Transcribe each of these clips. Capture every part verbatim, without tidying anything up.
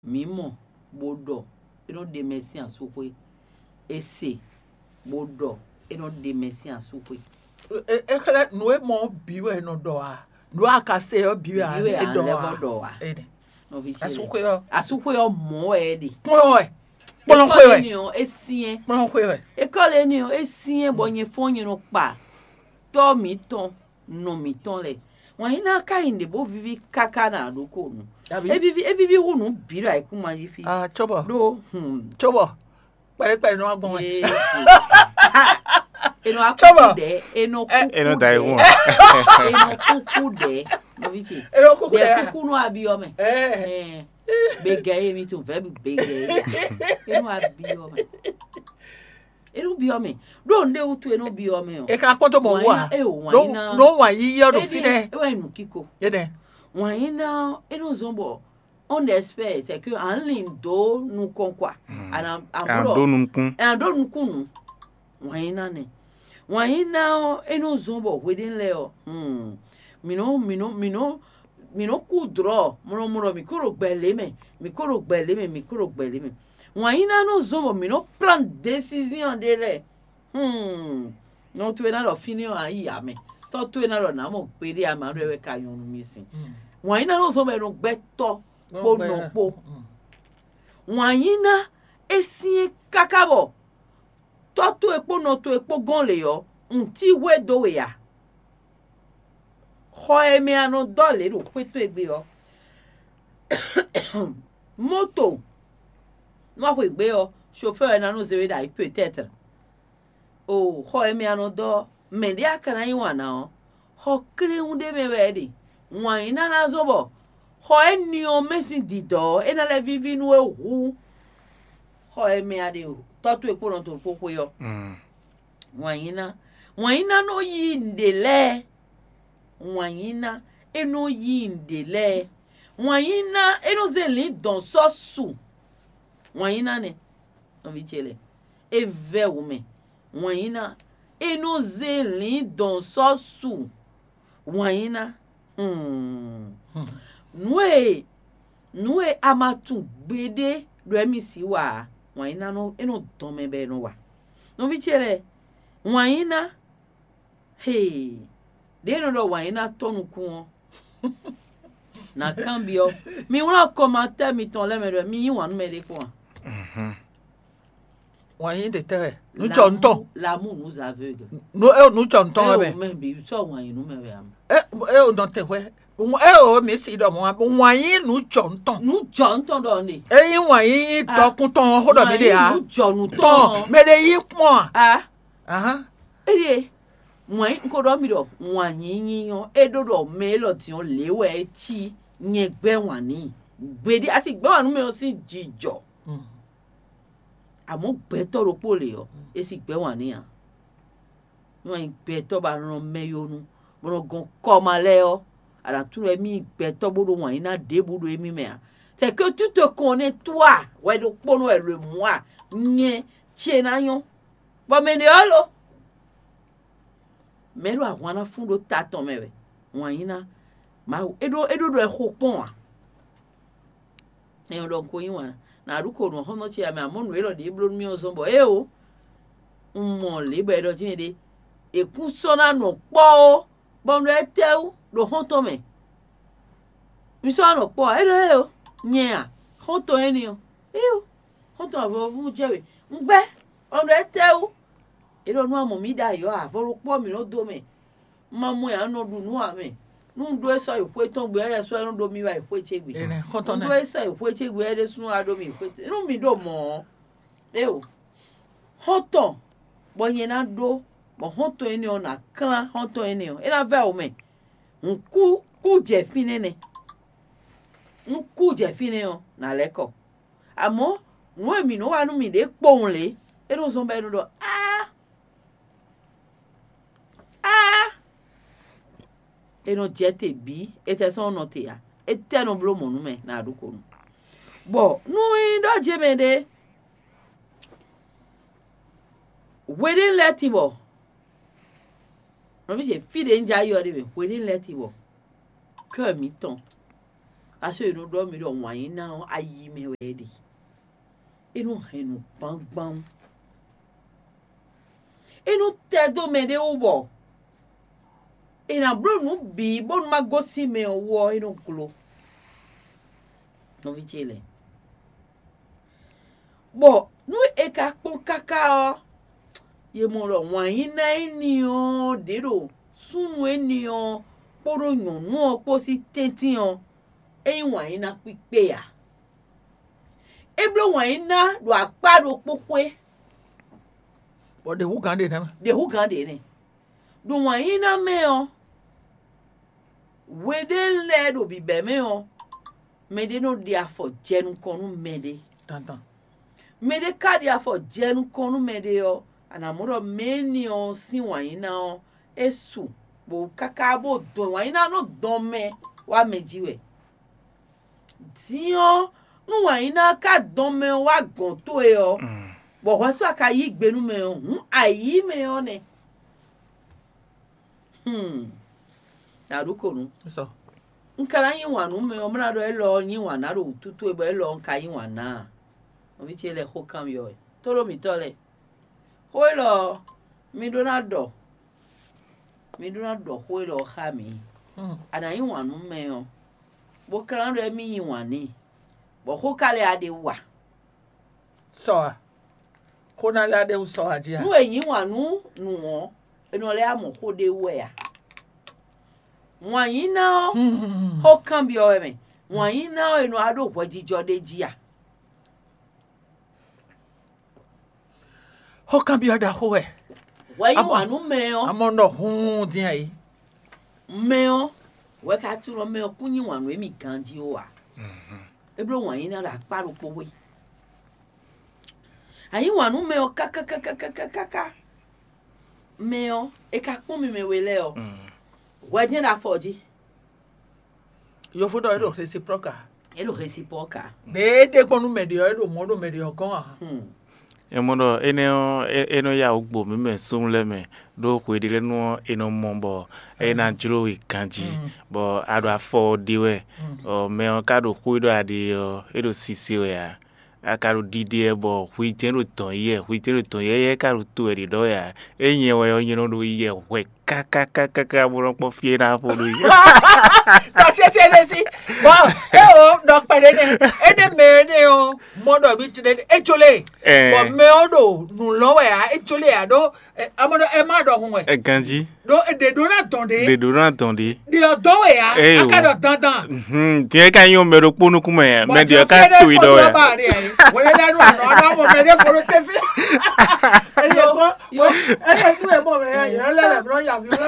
Mǐ mɔ, bó ɖɔ é nɔ ɖe mɛ sín asúxwé. È se, bó ɖɔ é nɔ ɖe mɛ sín asúxwé. É xlɛ́ nǔ e mɔ ɔ́ bǐ wɛ è nɔ ɖɔ ǎ. Nǔ e a ka se ɔ́ bǐ wɛ a Bǐ wɛ è a ɖɔ lɛ́ ǎ. Bɔ ɖɔ ǎ. Ene. Nɔví ce Asúxwé ɔ́, Asúxwé ɔ́ mɔ wɛ é ɖe. Kplɔ́n wɛ. Kplɔ́n xwe wɛ. Ni ɔ́, é syɛ́n. Kplɔ́n xwe wɛ. Ékɔ́li énɛ́ ɔ́, é syɛ́n bɔ nyɛ fɔ́n nyɛ nɔ kpa tɔ́ mǐtɔn, nɔ mǐtɔn lɛ́ɛ. Wǎn yíná ka nyí nǔɖé bó víví káká ná ɖokónu. Abǐ? É víví é víví hú nǔ bǐ ɖo ayǐkúngban jí fí. Ah, cóbɔ. Ɖó hmm, Cóbɔ. Kpɛɖé kpɛɖé nɔ wá gbɔn wɛ. Yéé. È nɔ wá Cóbɔ. Kúkú ɖɛ̌, è nɔ kúkú È nɔ da ɖɛ̌, ayihun. È nɔ kúkú ɖɛ̌, nɔví ce. È nɔ kúkú Ɖɛ̌ ɖɛ̌. Kúkú nɔ abyɔ́ mɛ. Ɛ. Ɛ. Gbegɛ ye mi tún vɛ̌ gbegɛ ye. È nɔ abyɔ́ mɛ. È nɔ byɔ́ mɛ. Ɖó nǔɖé wútu è nɔ byɔ́ mɛ ɔ́. È ka kpɔ́n tó mɔ wú a? Wǎn yíná, é o, wǎn Ɖó yíná. Ɖó wǎn yíyí ɔ́ ɖo É fínɛ́. Ɖe, é wá nyí nǔ kíko. Énɛ́. Wǎn yíná, é nɔ zɔ́n bɔ on espère c'est que à ń lin dǒ nukɔn quoi. Mm. À nà à À nǎ ɖɔ ɖó nukún. À nǎ ɖó nukún nǔ. Wǎn yíná nɛ. Wǎn yíná ɔ́, é nɔ zɔ́n bɔ hweɖénu lɛ́ɛ ɔ́, hmm, mǐ nɔ mǐ nɔ mǐ nɔ mǐ nɔ kú dlɔ̌ mlɔmlɔ, mǐ ko ɖo gbɛ lě mɛ, mǐ ko ɖo gbɛ lě mɛ, mǐ ko ɖo gbɛ lě mɛ. Wǎn yíná nɔ zɔ́n bɔ mǐ nɔ plán décision ɖé lɛ́ɛ. Hmm. Nɔ towe ná ɖɔ fínɛ́ ɔ́, a yi amɛ. Tɔ́ towe ná ɖɔ nǎ mɔ gbeɖé amɛ, a ɖɔ wɛ ka nyɔ́ nú mì sin. Wǎn yíná nɔ zɔ́n bɔ è nɔ gbɛ́ tɔ́ kpó nɔ kpó. Wǎn yíná é syɛ́n káká bɔ tɔ́ towe kpó nɔ towe kpó gɔ́n lě ɔ́, un cí hwé dó we ǎ. Xɔ e mɛ a nɔ dɔ́ lě ɖo xwé towe gbe ɔ́, moto nú a xweyǐgbe ɔ́, chauffeur wɛ ná nɔ zé we ɖo ayǐ peut-être. O xɔ e mɛ a nɔ dɔ́ ɔ́, mɛ̌ ɖé a ka ná yí wǎn ná ɔ́, xɔ kléwún ɖé mɛ wɛ é ɖe. Wǎn yíná ná zɔ́n bɔ xɔ énɛ́ ɔ́ mɛ sín dǐdɔ́ ɔ́, é ná lɛ́ víví nú we hú xɔ e mɛ a ɖe tɔ́ towe kpó nɔ towe kpó xwé ɔ́. Mm. Wǎn yíná, wǎn yíná nɔ yí nǔɖé lɛ́ɛ. Wǎn yíná, é nɔ yí nǔɖé lɛ́ɛ. Wǎn yíná, é nɔ zé lǐndɔ̌n sɔ́ su. Wǎn yíná nɛ́, nɔví ce lɛ́ɛ, é vɛ́ wǔ mɛ. Wǎn yíná, é nɔ zé lǐndɔ̌n sɔ́ su. Wǎn yíná, hmm. Nǔ e nǔ e a ma tunwun gbeɖé ɖɔ émí sixú wa ǎ, wǎn yíná nɔ é nɔ dɔn mɛ bɔ è nɔ wa. Nɔví ce lɛ́ɛ, wǎn yíná, hee, ɖěe nɔ ɖɔ wǎn yíná tɔ́ nukún ɔ́, nǎ kanbyɔ́. Mi wlán kɔmatɛ́ mitɔn lɛ́ɛ mɛ ɖɔ mi yí wǎn nú mɛɖé kpɔ́n a? Mhm. Wǎn yí ɖe tɛ́ wɛ? Nǔ cɔ ntɔn. L'amour nous aveugle. Nǔ e nǔ cɔ ntɔn wɛ mɛ. Eo mɛ bi sɔ wǎn yí nú mɛ wɛ a mɛ. E e o nɔ te hwɛ. E o mi si ɖɔ mɔ wǎn yí nǔ cɔ ntɔn. Nǔ jɔ ntɔn ɖɔ ne. E yí wǎn yí dɔkun tɔn xó ɖɔ mi ɖe a. Nǔ jɔ nù Tɔn tɔn. Mɛ ɖe yí kpɔn a. A Ahan. Eye wǎn yí n ko ɖɔ mi ɖɔ wǎn yí nyí ɔ́, é ɖó ɖɔ mɛ élɔ́ din ɔ́ lě wɛ é cí nyɛ gbɛ́ wǎn n'i. Gbeɖé a si gbɛ́ wǎn nú mɛ ɔ́ sín jijɔ. Mm. Amɔ̌ gbɛtɔ́ ɖokpó lě ɔ́, é si gbɛ́ wǎn n'i ǎ. Nú a nyí gbɛtɔ́ bɔ a nɔ mɛ yonu, bɔ nɔ gɔn kɔma lɛ́ɛ ɔ́, a nǎ tunwun ɖɔ émí nyí gbɛtɔ́ bó ɖo wǎn yí ná ɖěbǔ ɖo émí mɛ ǎ. C'est que tu te connais toi, wɛ ɖokpónɔ wɛ le mɔ̌ a, nyɛ ce ná nyɔ́. Bɔ mɛ ɖě ɔ́ lo, mɛ ɖo ahwan ná fún ɖó ta tɔn mɛ wɛ, wǎn yí ná Mawu é ɖó é ɖó ɖɔ ɛ xo kpɔ́n ǎ. Ɛn ɖɔ un ko yí wǎn nǎ ɖu ko nǔ xɔ́ntɔn ce amɛ, amɔ̌ nǔ élɔ́ ɖě bló nú mì ɔ́ zɔ́n bɔ éeǒ, un mɔ lě bɔ è ɖɔ jɛ́n ɖé, è kún sɔ́ ná nɔ kpɔ́ ó, bɔ un ɖɔ étɛ́wú ɖo xɔ́ntɔn mɛ? Mi sɔ́ ná nɔ kpɔ́ ǎ? É ɖɔ éeǒ, nyɛ a, xɔ́ntɔn énɛ́ ɔ́, éeǒ, xɔ́ntɔn avɔvú jɛ we, un gbɛ́, bɔ un ɖɔ étɛ́wú? É ɖɔ nú a mɔ mǐ ɖ'ayǐ ɔ́, avɔ ɖokpó ɔ́ mǐ nɔ dó mɛ. Un ma mɔ ɛ ǎ, un nɔ ɖu nǔ ǎ mɛ. Nú un ɖó é sɔ́ yi xwé tɔn gbe ɔ́, é sɔ́ é nɔ ɖó mì wá yi xwé ce gbe. Énɛ́, xɔ́ntɔn Un nɛ́. Ɖó é sɔ́ yi xwé ce gbe ɔ́, é ɖésúnɔ wá ɖó mì yi xwé ce. Nú mi ɖo mɔ̌ ɔ́, éeǒ, xɔ́ntɔn bɔ nyɛ ná ɖó, bɔ xɔ́ntɔn énɛ́ ɔ́ ná klán xɔ́ntɔn énɛ́ ɔ́, é ná vɛ́ wǒ mɛ. Un kú kú jɛ fínɛ́ nɛ́. Nú kú jɛ fínɛ́ ɔ́, nǎ lɛ́ kɔ. Amɔ̌, nǔ e mǐ nɔ wa nú mǐɖée kpowun lě, é nɔ zɔ́n bɔ é nɔ ɖɔ áá, áá, é nɔ jɛ te bǐ, étɛ́ sɔ́ nɔ te ǎ, étɛ́ nɔ bló mɔ̌ nú mɛ nǎ ɖu ko nú. Bɔ nú é nyí ɖɔ jɛ́n mɛ ɖé, hweɖénu lɛ́ɛ tin bɔ, nɔví ce fí ɖě un jɛ ayɔ ɖé mɛ, hweɖénu lɛ́ɛ tin bɔ kɛ́ mǐtɔn Aso e nɔ ɖɔ mì ɖɔ wǎn yí ná ɔ́, ayi mɛ wɛ é ɖe. É nɔ hɛn nǔ gbangban. É nɔ tɛ dó mɛ ɖé wú bɔ è nǎ bló nǔ bǐ bónú má gosín mɛ ɔ́ wú ɔ́, é nɔ glo. Nɔví ce lɛ́ɛ, bɔ nú è ka kpɔ́n káká ɔ́, yě mɔ ɖɔ wǎn yí ná éní ɔ́ ɖě ɖo súnnu éní ɔ́ kpódó nyɔ̌nu ɔ́ kpó sín tɛ́ntin ɔ́, é nyí wǎn yí ná kpíkpé ǎ. É bló wǎn yí ná ɖo akpá ɖokpó xwé. Bɔ ɖě hú gǎn ɖe nɛ́ mɛ. Ɖě hú gǎn ɖě nɛ́. Ɖo wǎn yí ná mɛ ɔ́, hwe ɖé lɛ́ɛ ɖo bǐbɛ́ mɛ ɔ́, mɛɖé nɔ ɖe afɔ jɛ nukɔn nú mɛɖé. Dandan. Mɛɖé ka ɖe afɔ jɛ nukɔn nú mɛɖé ɔ́, a nǎ mɔ ɖɔ mɛ énɛ́ ɔ́ sín wǎnyíná ɔ́, é su bó káká bó dɔn wǎnyíná nɔ dɔn mɛ wá mɛ jí wɛ. Din ɔ́, nú wǎnyíná ɔ́ ka dɔn mɛ ɔ́ wá gɔ̌n towe ɔ́, bɔ hwɛsó a ka yí gbe nú mɛ ɔ́, hǔn ayǐ mɛ ɔ́ nɛ́. Hmm. Nǎ ɖu ko nú. Sɔ. Un ka ná yí wǎn nú mɛ ɔ́, mlá ɖɔ élɔ́ ɔ́ yí wǎn ná ɖo wǔtu towe bɔ élɔ́ ɔ́ un ka yí wǎn ná a? Nɔví ce lɛ́ɛ xó kanbyɔ́ wɛ. Tóɖó mǐtɔn lɛ́ɛ. Xó élɔ́ ɔ́, mi ɖó ná ɖɔ. Mi ɖó ná ɖɔ xó élɔ́ ɔ́ xá mǐ. Hmm. A nǎ yí wǎn nú mɛ ɔ́, bó ka ná ɖɔ émí yí wǎn n'i, bɔ xó ka lɛ́ a ɖe wa. Sɔ a? Xó ná lɛ́ ɖe wú sɔ a jí a? Nú è yí wǎn nú nǔ ɔ́, è nɔ lɛ́ mɔ xó ɖé wú wɛ a? Wǎn yí ná ɔ́, Hmm. xó kanbyɔ́ wɛ mɛ. Wǎn yí ná ɔ́, è nɔ wá ɖo hwɛjijɔ ɖé jí a? Xó kanbyɔ́ ɖaxó wɛ. Hwɛ yí Amɔ- wǎn nú mɛ ɔ́, Amɔ nɔ hun dín ayé. mɛ ɔ́, hwɛ ka tunɔ mɛ ɔ́ kún yí wǎn nú émí ganjí ó a? É bló wǎn yí ná ɖo akpá ɖokpó xwé. A yí wǎn nú mɛ ɔ́ kákákákákáká. Mɛ ɔ́, è ka kpɔ́n mi mɛ we lɛ́ɛ ɔ́, hwɛ jɛ́n ɖo afɔ jí. Yovo ɖɔ é ɖo réciproque a? É ɖo réciproque a? Mɛ e ɖe gbɔn nú mɛ ɖe ɔ́, é ɖo mɔ̌ ɖo mɛ ɖe ɔ́ gɔ́n a? Hmm. É mɔ ɖɔ énɛ́ ɔ́, é- é nɔ yá wǔ gbo mǐ mɛ súnnu lɛ́ɛ mɛ, ɖó hweɖélɛ́nu ɔ́, è nɔ mɔ bɔ é ná jló we ganjí, bɔ a ɖo afɔ ɔ́ ɖe wɛ, bɔ mɛ ɔ́ ka ɖo xwé ɖɔ a ɖe ɔ́, é ɖo sise wɛ ǎ. A ka ɖo ɖiɖe wɛ bɔ hwi jɛ́n ɖo dɔn yɛ, hwi jɛ́n ɖo dɔn yɛ, yɛ ka ɖo to wɛ ɖě ɖɔ wɛ ǎ. É nyɛ wɛ ɔ́, nyɛ nɔ ɖo yɛ hwɛ kákákákáká bó nɔ kpɔ́n fí e ná xo ɖó yi. Ɖɔ sese ɖe sí. Bɔn e o ɖɔ kpɛɖé nɛ. Ene mɛ ne o mɔ ɖɔ mi ti ɖe e tso le. Ɛɛ. Bɔn mɛ o ɖo nǔ lɔ wɛ a e tso le a ɖo amɔ ɖɔ ɛ má ɖɔ hun wɛ. Ɛ ganjí. Ɖo ɖe ɖo na dɔn ɖe. Ɖe ɖo ná dɔn ɖe. Ɖe ɔ dɔn wɛ a Ɛ a o. ka ɖɔ dandan. Mhm. Tiɲɛ ka nyɔ mɛ ɖokpó nukún mɛ, mɛ ɖe ka to yi ɖɔ wɛ. Wòle ɖe nu anɔ ɔdɔ mɔ mɛ ɖe fɔlɔ tɛ fi. Ele kɔ ele nu emo mɛ ya yɛrɛ lɛ lɛ blɔ ya fi lɛ.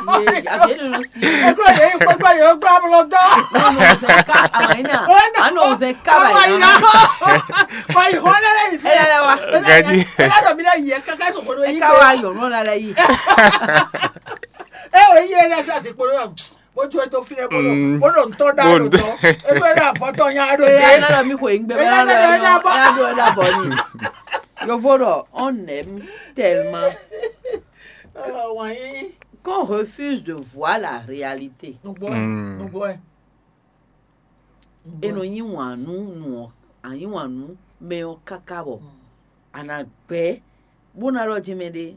Ye, a bɛ nɔ si. Ekplɔ yɛ yi kpɛkpɛ yɛ gba blɔ dɔ. Nɔ nɔ zɛ ka amayina. Anɔ zɛ ka Awa yi na bayina. kɔ. Wa yi hɔn lɛ lɛ yi fi. Ele la wa. Gaji. Ele dɔ mi lɛ yi kaka sɔgɔ do yi Eka wa yɔ nɔ la la yi. E o yi yɛ lɛ sa se kpolo yɔ. Mo jo to fi lɛ bolo. Mm. Bolo ntɔ da Mo do ntɔ. Tɔ. Ekplɔ yɛ afɔtɔ nya do Ele de. na dɔ mi ko ingbe bɛ na dɔ ya dɔ ya dɔ bɔ ni. Yovo dɔ on aime tellement Wanyi. qu'on refuse de voir la réalité. Nugbo Mm. ɛ. Nugbo ɛ. E nɔ nyi wǎn nú nu ɔ́, a nyi wǎn nú mɛ ɔ́ káká bɔ a nǎ gbɛ́ bó ná ɖɔ jí mɛ ɖé.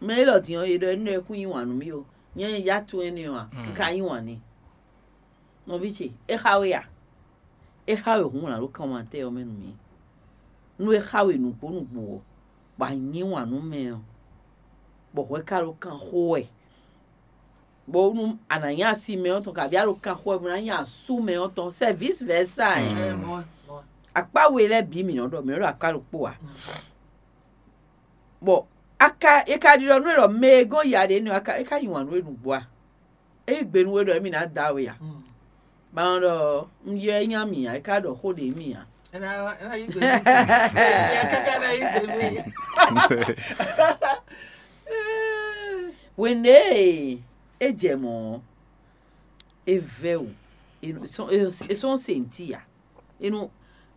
Mɛ élɔ́ din ɔ́, è ɖɔ énɛ́ ɔ́ kún nyi wǎn nú mì o. Nyɛ nyɛ ya tunwun énɛ́ ɔ́ a? Un ka nyi wǎn n'i. Nɔví ce, é xa we a? É xa we hǔn wǎn ɖo kanwatɛ́ ɔ́ mɛ nú mì. Nú é xa we nǔgbó nǔgbó ɔ́, bɔ a nyi wǎn nú mɛ ɔ́, bɔ hwɛ ka ɖo kan xo wɛ, bónú a nǎ nyí asi mɛ ɔ́ tɔn, kabi a ɖo kan xo wɛ bó ná nyí asú mɛ ɔ́ tɔn, c'est vice versa ɛ. Ɛ mɔ mɔ. Akpá we lɛ́ɛ bǐ mǐ nɔ ɖɔ, mǐ nɔ ɖɔ akpá ɖokpó ǎ. Bɔ a ka e ka ɖiɖɔ nú we ɖɔ mɛ e gɔ́n ya ɖě nɔ a ka e ka nyi wǎn nú we nǔgbó a? É yí gbe nú we ɖɔ émí ná da we a? Ba nɔ ɖɔ un yɔ é nyí ami ǎ, é ka ɖɔ xó ɖě mì ǎ. Ena ena yi gbe mi. Ya kaka na yi gbe mi. Wěnde e é jɛ mɔ̌ ɔ́, é vɛ́ wǔ, é sɔ́ é sɔ́ sɛ̌nti ǎ. É nɔ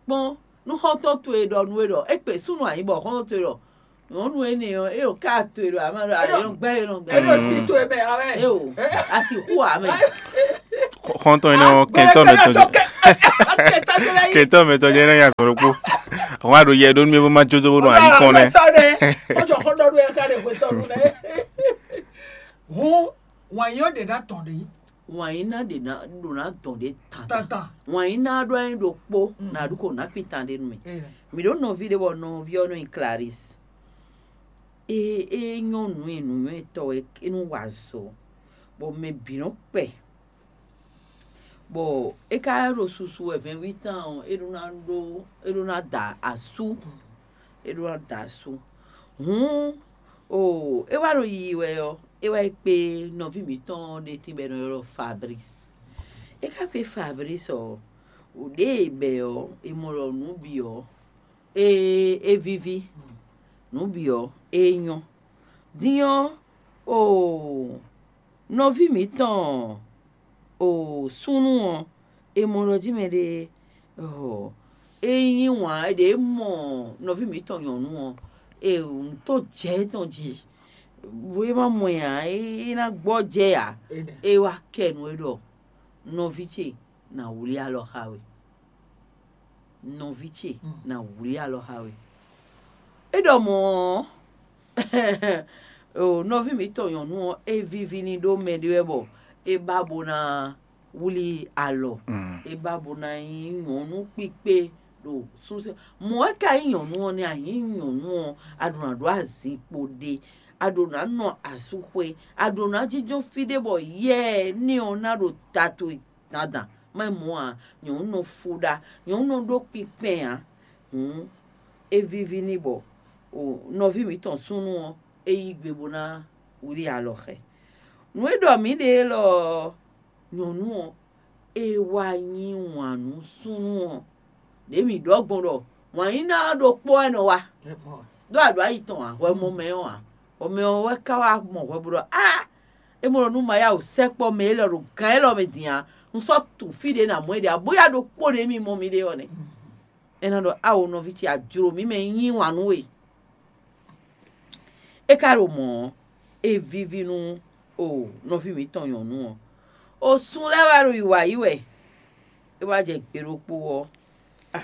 kpɔ́n nú xɔ́ntɔn towe ɖɔ nú we ɖɔ é kpe súnnu ayǐ bɔ xɔ́ntɔn towe ɖɔ nyɔ̌nu énɛ́ ɔ́, é ɖo ká towe ɖɔ amá ɖɔ ayɔ́ngbɛ́ é nɔ gbɛ́. Eno si to eme awe. É o, a sixú ǎ mɛ. Xɔ́ntɔn énɛ́ ɔ́, kɛntɔ́ mɛtɔn jɛ kɛntɔ́ mɛtɔn jɛ énɛ́ nyi azɔn ɖokpó. Àwọn àɖo yɛ ɖó nú mì bó má jó dó bó ɖo ayǐ kɔn nɛ́. Ó jɔ xɔ́ntɔn ɖó yɛ ká ɖe hwetɔ́ nú nɛ́. Hǔn wǎn yí ɔ́ ɖě ná tɔn ɖě. Wǎn yí ná ɖě ná ɖo ná dɔn ɖě tanta. Wǎn yí ná ɖó anyi ɖokpó ná ɖu kó ná kpin tan ɖé nú mì. Mǐ ɖó nɔví ɖé bɔ nɔví ɔ́ nɔ nyi Clarisse. É é nyɔ́ nǔ e nǔnywɛ́tɔ́ wɛ é nɔ wa azɔ̌, bɔ mɛ bǐ nɔ kpɛ, bɔ é ka ɖo susu wɛ vɛ̌nví tɔn ɔ́, é ɖó ná ɖó é ɖó ná da asú, é ɖó ná da asú. Hǔn o é wá ɖo yiyi wɛ ɔ́, é wá yi kpé nɔví mǐtɔn ɖé tín bɔ è nɔ ylɔ́ Fabrice. É ka kpé Fabrice ɔ́, ɖěe è bɛ̌ ɔ́, è mɔ ɖɔ nǔ bǐ ɔ́, é é víví, nǔ bǐ ɔ́, é nyɔ́. Din ɔ́, o nɔví mǐtɔn o súnnu ɔ́, è mɔ ɖɔ jí mɛɖé ɔ é yí wǎn ɖě mɔ nɔví mǐtɔn nyɔ̌nu ɔ́, e nǔ tɔn jɛ tɔn jí, bó é má mɔ ɛ ǎ, é ná gbɔ́ jɛ ǎ. É wá kɛ nú é ɖɔ nɔví ce ná wlí alɔ xá we. Nɔví ce ná wlí alɔ xá we. É ɖɔ mɔ̌ ɔ́, nɔví mǐtɔn nyɔ̌nu ɔ́, é víví n'i ɖó mɛ ɖé wɛ bɔ é ba bó ná wlí alɔ. É ba bó ná nyí nyɔ̌nu kpíkpé ɖo súnsɛn. Mɔ̌ wɛ ka nyí nyɔ̌nu ɔ́ nɛ́? A nyǐ nyɔ̌nu ɔ́, a ɖǒ ná ɖó azinkpo ɖé, a ɖǒ ná nɔ asúxwé, a ɖǒ ná jínjɔ́n fí ɖé bɔ yɛ énɛ́ ɔ́ ná ɖo ta towe dandan. Má nyí mɔ̌ ǎ, nyɔ̌nu nɔ fó ɖá, nyɔ̌nu nɔ ɖó kpinkpɛn ǎ. Hǔn é víví n'i bɔ nɔví mǐtɔn súnnu ɔ́, é yí gbe bó ná wlí alɔ xɛ. Nǔ e ɖɔ mǐ ɖe élɔ́ ɔ́, nyɔ̌nu ɔ́, é wá yí wǎn nú súnnu ɔ́. Ɖě mǐ ɖɔ gbɔn ɖɔ wǎn yí ná ɔ́ ɖokpó wɛ nɔ wa. Ɖó aɖǒ ayi tɔn ǎ, hwɛ mɔ mɛ ɔ́ ǎ. Hwɛ mɛ ɔ́ wɛ ka wá mɔ hwɛ bó ɖɔ á, é mɔ ɖɔ nú ma yá wǒ sɛkpɔ́ mɛ élɔ́ ɖo gǎn élɔ́ mɛ din ǎ, un sɔ́ tunwun fí ɖě ná mɔ é ɖe ǎ, bóyá ɖokpó ɖě mì mɔ miɖée ɔ́ nɛ́. É ná ɖɔ áwo nɔví ce, a jlǒ mì mɛ yí wǎn nú we. É ka ɖo mɔ̌ ɔ́, é víví nú o nɔví mǐtɔn nyɔ̌nu ɔ́. O sun lɛ́ɛ wá ɖo yi wǎ yi wɛ, é wá jɛ gbe ɖokpó ɔ́, a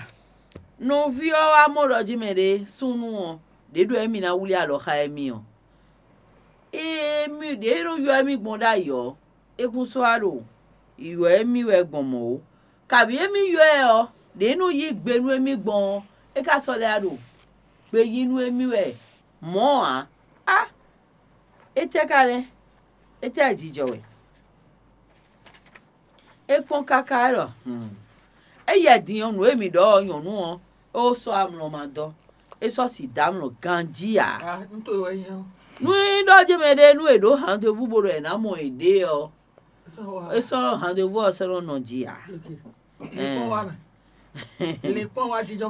nɔví ɔ́ wá mɔ ɖɔ jí mɛ ɖé súnnu ɔ́, ɖě ɖɔ émí ná wlí alɔ xá émí ɔ́. Émí ɖě e nɔ ylɔ́ émí gbɔn ɖ'ayǐ ɔ́, é kún sɔ́ wá ɖo ylɔ́ émí wɛ gbɔn mɔ̌ ó. Kabǐ émí ylɔ́ ɛ ɔ́, ɖě e nɔ yí gbe nú émí gbɔn ɔ́, é ka sɔ́ lɛ́ wá ɖo gbe yí nú émí wɛ mɔ̌ ǎ. Á! Étɛ́ ka nɛ́? Étɛ́ jijɔ wɛ? É kpɔ́n káká é ɖɔ: "Hm, éyɛ́ din ɔ́, nǔ e mǐ ɖɔ ɔ́, nyɔ̌nu ɔ́, é ko sɔ́ amlɔ ma dɔ́; é sɔ́ si dó amlɔ ganjí ǎ." Nú é ɖɔ jɛ́n mɛ ɖé nú è ɖǒ handevú bó ɖɔ è nǎ mɔ yěɖée ɔ́, é sɔ́ handevú ɔ́ sɔ́ nɔ nɔ ji ǎ.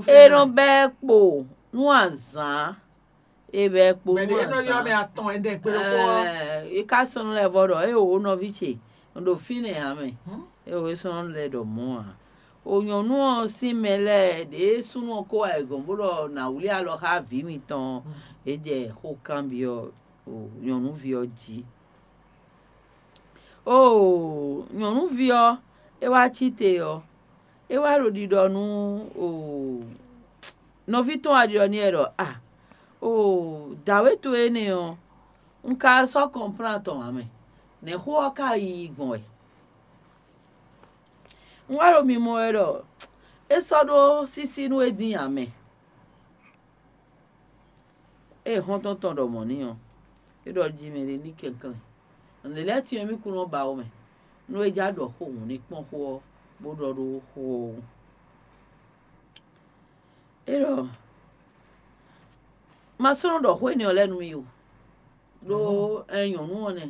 È nɔ bɛ́ kpo nú azǎn, è bɛ́ kpo nú azǎn. Mɛ ɖě nɔ ylɔ́ mɛ atɔn ɛnɛ kpé ɖokpó ɔ́. È ka sɔ́ nɔ lɛ́ vɔ ɖɔ é wǒ nɔví ce, un ɖo fínɛ́ ǎ mɛ. É wǒ é sɔ́ nɔ lɛ́ ɖɔ mɔ̌ ǎ. O nyɔ̌nu ɔ́ sín mɛ lɛ́ɛ ɖě súnnu ɔ́ ko wá yi gɔ̌n bó ɖɔ nǎ wlí alɔ xá vǐ mitɔn ɔ́, é jɛ xó kanbyɔ́ nyɔ̌nuví ɔ́ jí. Oo nyɔ̌nuví ɔ́, é wá cí te ɔ́, é wá ɖo ɖiɖɔ nú oo nɔví tɔn wá ɖiɖɔ n'i wɛ ɖɔ: "A, oo dǎwe towe énɛ́ ɔ́, un ka sɔ́ kɔnplán tɔn ǎ mɛ, nɛ̌ xó ɔ́ ka yiyi gbɔn wɛ?" Un wá ɖo mimɔ wɛ ɖɔ é sɔ́ ɖó sísí nú we dín ǎ mɛ. Ée hɔ́ntɔn tɔn ɖɔ mɔ̌ n'i ɔ́, é ɖɔ jí mɛ ɖé ní kɛnklɛ́n. Nǔɖé lɛ́ɛ tɛ́nwe mì kún nɔ ba ó mɛ, nú é já ɖɔ xó hǔn ní kpɔ́n xó ɔ́, bó ɖɔ ɖó xó ɔ́ wú. É ɖɔ: "Ma sɔ́ nɔ ɖɔ xó énɛ́ ɔ́ lɛ́ɛ nú mì ó, ɖó ɛ nyɔ̌nu ɔ́ nɛ́,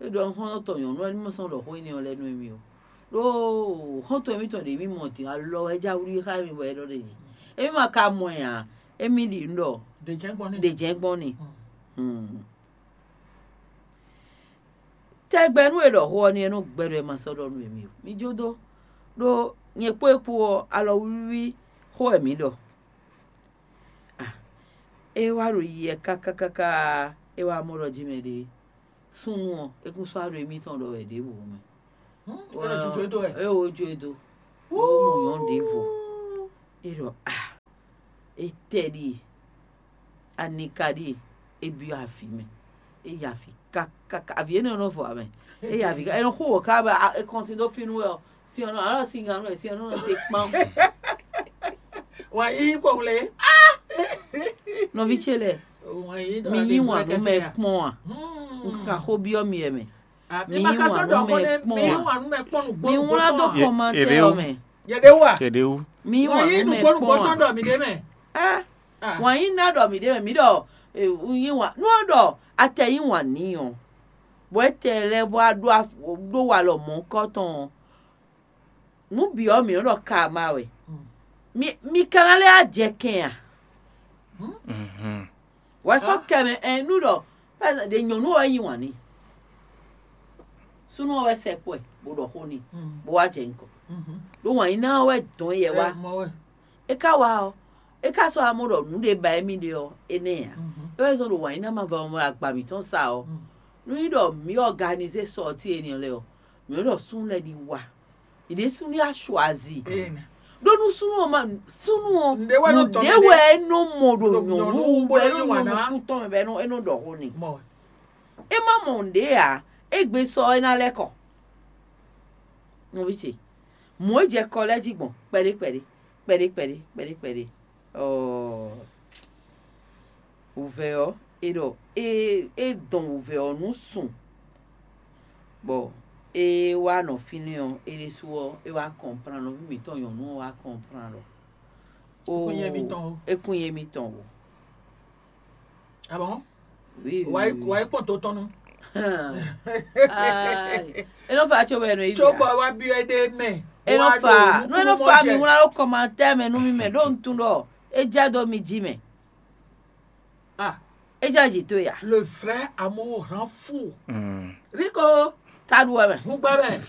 é ɖɔ xɔ́ntɔn nyɔ̌nu ɔ́ ní ma sɔ́ nɔ ɖɔ xó énɛ́ ɔ́ lɛ́ɛ nú émí ó. Ɖó xɔ́ntɔn émítɔn ɖě mì mɔ din alɔ wɛ é já wlí xá émí bɔ é ɖɔ ɖ'é jí. Émí ma ka mɔ ɛ ǎ, émí ɖi nǔ ɖɔ ɖě jɛ́n gbɔn n'i." Tɛgbɛ nú è ɖɔ xó ɔ́ n'i é nɔ gbɛɖɔ è ma sɔ́ ɖɔ nú émí ó. Mi jó dó, ɖó nyɛ kpó é kpó ɔ́, alɔwlíwlí xó wɛ mǐ ɖɔ. É wá ɖo yiyi wɛ káká káká, é wá mɔ ɖɔ jí mɛ ɖé súnnu ɔ́, é kún sɔ́ wá ɖo émítɔn ɖɔ wɛ ɖěbǔ mɛ. Ɛ lɔ jujɔ e dó wɛ. E wo jo e do. Wo mɔ nyɔ̌nu ɖěvo. E ɖɔ ah, etɛ ɖíe, anika ɖíe, e byɔ́ avǐ mɛ. E yi avǐ kákáká, avǐ énɛ́ nɔ vɔ amɛ. E yi avǐ ká, e nɔ xú wǒ ká bɔ e kɔn sin dó fínú wɛ ɔ́, sin ɔ́ nɔ alɔ sin ganu wɛ, sin ɔ́ nɔ te kpán. Wǎn yíyí kpɔ́n lé. Nɔví ce lɛ́ɛ, mi yí wǎn nú mɛ kpɔ́n a? Un kan xó byɔ́ mi wɛ mɛ. Mi yí wǎn nú mɛ kpɔ́n a? Mi wlán dó kɔmantɛ ɔ́ mɛ. Yɛɖéwú a? Yɛɖéwú. Mi yí wǎn nú mɛ kpɔ́n a? Ɛ, wǎn yí ná ɖɔ mǐ ɖe mɛ, mǐ ɖɔ un yí wǎn nú ɔ́ ɖɔ atɛ yí wǎn n'i ɔ́, bɔ é tɛ lɛ́ vɔ ɖó walɔ mɔ̌kɔ́ tɔn ɔ́, nǔ bǐ ɔ́ mǐ nɔ́ ɖɔ karma wɛ. Mi ka ná lɛ́ wá jɛ kɛn a? Wɛ sɔ́ kɛ mɛ ɛn nú ɖɔ ɖe nyɔ̌nu ɔ́ wɛ yí wǎn n'i. Súnnu ɔ́ wɛ sɛ kpɔ́ ɛ bó ɖɔ xó n'i, bó wá jɛ nukɔn. Ɖó wǎn yí ná ɔ́ wɛ dɔn yɛ wá. É ka wá ɔ́, é ka sɔ́ amɔ ɖɔ nǔ ɖé ba émí ɖe ɔ́, énɛ́ ǎ. É wɛ zɔ́n ɖo wǎn yí ná ma vɛ ɔ́ mɔ agba mǐtɔn sa ɔ́, nú nyí ɖɔ mǐ ɔganizé sɔti énɛ́ lɛ́ɛ ɔ́, mǐ nɔ́ ɖɔ súnnu lɛ́ɛ ní wá. Yě ɖésú ní achoisi. Ɖó nú súnnu ɔ́ ma súnnu ɔ́, nǔɖé wɛ é nɔ mɔ ɖo nyɔ̌nu wú bɔ é nɔ nyɔ̌nu kú tɔn mɛ bɔ é nɔ ɖɔ xó n'i. É má mɔ nǔɖé ǎ, égbé sɔ é ná lɛ́ kɔ. Nɔví ce, mɔ̌ é jɛ kɔ lɛ́ɛ jí gbɔn kpɛɖé kpɛɖé kpɛɖé kpɛɖé kpɛɖé kpɛɖé. Ɔɔ, wǔvɛ́ ɔ́, é ɖɔ é é dɔn wǔvɛ́ ɔ́ nú sun, bɔ é wá nɔ fínɛ́ ɔ́, é ɖésú ɔ́, é wá kɔnplán, nɔví mǐtɔn nyɔ̌nu ɔ́ wá kɔnplán ɖɔ ó, é kún nyɛ mitɔn o. Abɔn? Wǎ yi kpɔn tó tɔn nu. É nɔ fa tso wɛ nɔ yi. Tso bɔ wá byɔ́ é ɖe mɛ. É nɔ fa, nú é nɔ fa mi wlán ɖó kɔmantɛ mɛ nú mi mɛ ɖó un tunwun ɖɔ é jɛ dó mi jí mɛ. Ah, é jɛ jǐ towe ya. Le vrai amour rend fou. Riko, taɖu wɛ mɛ. Hun gbɛ mɛ.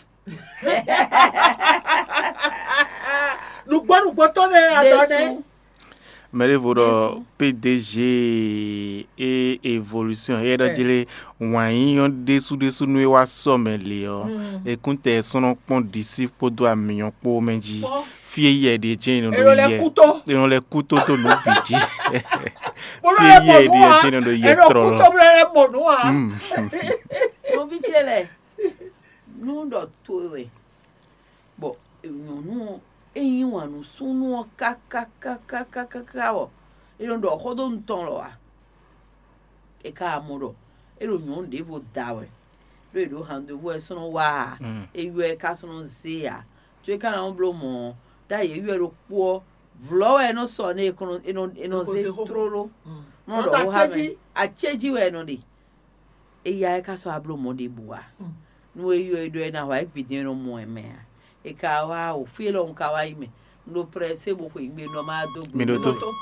Nǔgbó nǔgbó tɔn nɛ adɔ nɛ. Mɛ ɖěvo ɖɔ P D G e évolution e ɖɔ jlé wǎn yíyɔ́ ɖésú ɖésú nú é wá sɔ mɛ le ɔ́, é kún tɛ sɔ́ nɔ kpɔ́n ɖisí kpódó amǐnyɔ́ kpó mɛ jí. Fí e yɛ ɖe jɛ́n è nɔ ɖo yɛ, è nɔ lɛ́ kú tó nǔ bǐ jí. Fí e yɛ ɖe jɛ́n è nɔ ɖo yɛ tlɔlɔ. Nɔví ce lɛ, nú ɖɔ towe wɛ, bɔ nyɔ̌nu ɔ́, é yí wǎn nú súnnu ɔ́ kákákákákáká bɔ é nɔ ɖɔ xó dó nutɔn lɔ ǎ. É ka mɔ ɖɔ é ɖo nyɔ̌nu ɖěvo da wɛ, ɖó è ɖǒ handevú wɛ é sɔ́ nɔ wá ǎ. É ywɛ́ ɛ ka sɔ́ nɔ zé ǎ. Có é ka ná nɔ bló mɔ̌ ɔ́, ɖó ayǐ é ywɛ́ ɖokpó ɔ́, vlɔ̌ wɛ é nɔ sɔ nú é, é nɔ zé tlóló. Nɔ ɖɔ xó xá mɛ, acéjí wɛ é nɔ ɖe. Éyá é ka sɔ́ wá bló mɔ̌ ɖěbǔ ǎ. Nú é ylɔ́ é ɖɔ é ná hwa é gbe din é nɔ mɔ ɛ mɛ ǎ. É ka wá o fí élɔ́ un ka wá yi mɛ. Un ɖo prɛ́sé bó xweyǐgbe nɔ má dó gbe. Mi ɖótó.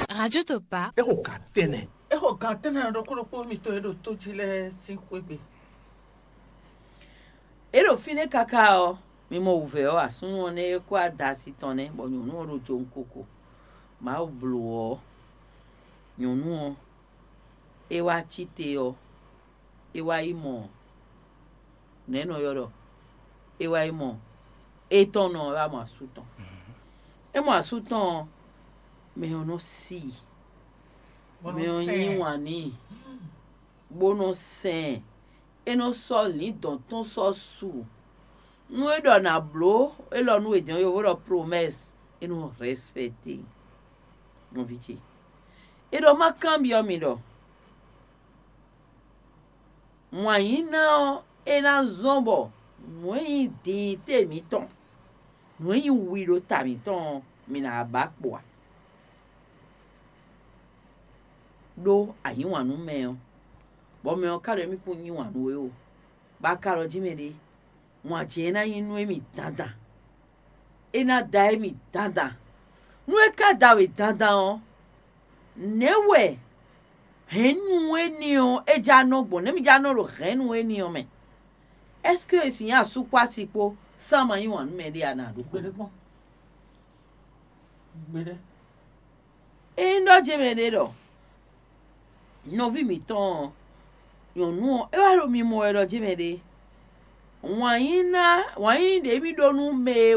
Radio Topa. É xo gǎn tɛ́nnɛ. É xo gǎn tɛ́nnɛ ɖokpó ɖokpó mitɔn e ɖo tó jí lɛ́ɛ sín xwé gbe. É ɖo fínɛ́ káká ɔ́, mi mɔ wǔvɛ́ ɔ́, asúnnu ɔ́ nɛ́ é kó ada asi tɔn nɛ́, bɔ nyɔ̌nu ɔ́ ɖo jowun koko. Mawu blǒ ɔ́, nyɔ̌nu ɔ́, é wá cí te ɔ́, é wá yi mɔ nɛ̌ nɔ ylɔ́ ɖɔ é wá yi mɔ étɔn nɔ é wá mɔ asú tɔn. É mɔ asú tɔn ɔ́, mɛ ɔ́ nɔ sí i, mɛ ɔ́ yí wǎn n'i, bó nɔ sɛn ɛ. É nɔ sɔ́ lǐndɔ̌n tɔn sɔ́ su. Nú é ɖɔ nǎ bló élɔ́ nú è jɔ̌n yovo ɖɔ promɛ́si, é nɔ rɛspɛkte nɔví ce. É ɖɔ má kanbyɔ́ mi ɖɔ wǎn yí ná ɔ́, é ná zɔ́n bɔ nǔ e nyí dinyité mǐtɔn, nǔ e nyí wi ɖo ta mǐtɔn ɔ́, mǐ ná wá ba kpo a? Ɖó a yí wǎn nú mɛ ɔ́, bɔ mɛ ɔ́ ka ɖɔ émí kún yí wǎn nú we ó, bɔ a ka ɖɔ jí mɛ ɖé, wǎn jɛ́n é ná nyí nú émí dandan. É ná da émí dandan. Nú é ka da we dandan ɔ́, nɛ̌ wɛ hɛ̌nnu énɛ́ ɔ́ é já nɔ gbɔn? Nɛ̌ mi já nɔ ɖo hɛ̌nnu énɛ́ ɔ́ mɛ? Ɛ́seke e sin nyí asú kpó asi kpó sán ma yí wǎn nú mɛ ɖé a nǎ ɖó? Gbeɖé kpɔ́n. Gbeɖé. Ényí ɖɔ jɛ́n mɛ ɖé ɖɔ nɔví mǐtɔn ɔ́, Nyɔ̌nu ɔ́, é wá ɖo mimɔ wɛ ɖɔ jɛ́n mɛ ɖé. Wǎn yí ná, wǎn yí ɖě mì ɖó nú mɛ e